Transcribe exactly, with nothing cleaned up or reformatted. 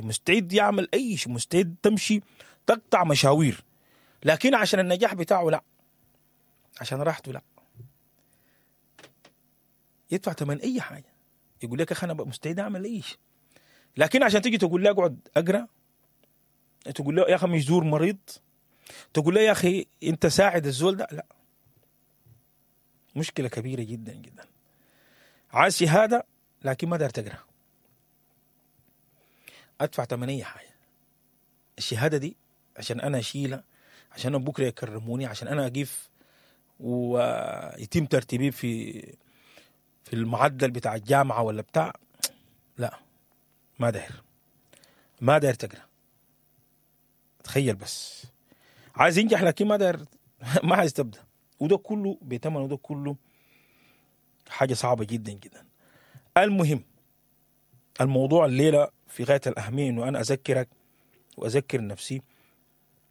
مستعد يعمل اي شيء، مستعد تمشي تقطع مشاوير، لكن عشان النجاح بتاعه لا، عشان راحته لا، يدفع ثمن اي حاجة. يقول لك يا اخي انا مستعد اعمل اي شيء، لكن عشان تيجي تقول له اقعد اقرا، تقول له يا اخي مش زور مريض، تقول له يا اخي انت ساعد الزول ده، لا، مشكلة كبيرة جدا جدا. عايز شهادة لكن ما داير تقرا، ادفع ثمن اي حاجة. الشهادة دي عشان انا اشيلها، عشان انا بكره يكرموني، عشان انا اقيف ويتم ترتيبي في في المعدل بتاع الجامعة ولا بتاع، لا ما داير، ما داير تقرا. تخيل بس عايز ينجح لكن ما داير، ما عايز تبدا، وده كله بثمن، وده كله حاجة صعبة جدا جدا. المهم الموضوع الليلة في غاية الاهمية انه انا اذكرك واذكر نفسي